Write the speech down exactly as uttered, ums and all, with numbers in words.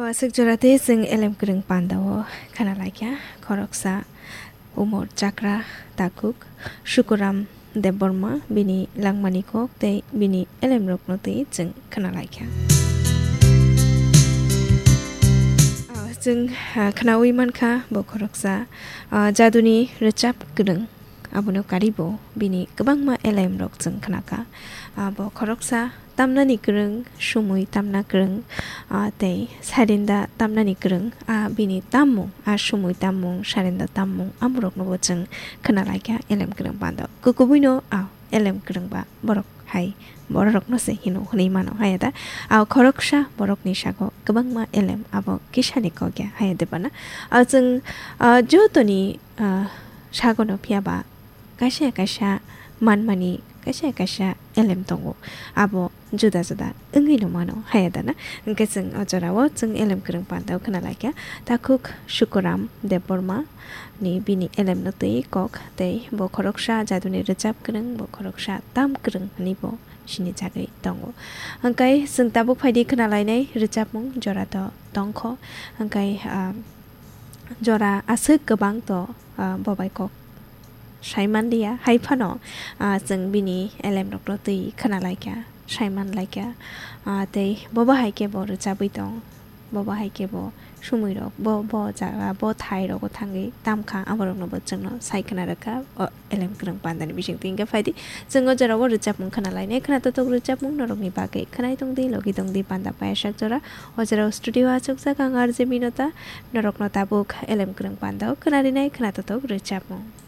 Aswk jora tei chwng elem kwrwng pandao khna laikha khoroksa umor chakra takhuk Sukuram Debbarma bini langmani kok tei bini elemrokno twi chwng khna laikha. Ah, chwng, ah, khnaui mankha bo khoroksa, ah, jaduni rwchap kwrwng. Abono karibo bini kwbangma elemrok chwng khnakha. Ah, bo khoroksa tamnani kwrwng, sumui tamna kwrwng, ah, tei sarinda tamnani kwrwng, ah, bini tammung, ah, sumui tammung, sarinda tammung, amoroknobo chwng khna laikha elem kwrwng pando. Kukubuino, ah, elem kwrwngba borok hai bororokno se hino hwnwi mano, haya da? Ah, khoroksa borokni sago kwbangma elem abo kisani kok ya, haya de bana? Ah, chwng, ah, jotoni, ah, sagono phiya ba kaisa kaisa manmani kaisa kaisa elem tongo, abo juda juda wngwi no mano, haya da na? Hwnkhe chwng o jorao chwng elem kwrwng pando khna laikha takhuk Sukuram Debbarma ni bini elemno twi kok tei bo khoroksa jaduni rwchap kwrwng, bo khoroksa tam kwrwng hwnwi bo sini jagwi tongo. Hwnkhe chwng tabuk phaidi khna lainai rwchapmung jora to tongkho, hwnkhe, ah, jora aswk kwbang to, ah, bo bai kok saimanliya, hai phano, ah, chwng bini elemrokno twi khna laikha, saiman laikha, ah, tei bobo hai khe bo rwchabwi tong, bobo hai khe bo sumui rok, bo, bo jaga, bo thai rogo thangwi tamkha, aborokno bo chwngno sai khna rwkha, o elem kwrwng pandani bisingtwi. Hwnkhe phaidi chwng o jorao rwchapmung khna lainai, khna totok rwchapmung norokni bagwi khwnai tongdi, logi tongdi panda payasak jora. O jorao studio achukjak ang R J Binota, norokno tabuk elem kwrwng pandao khna rinai khna totok rwchapmung.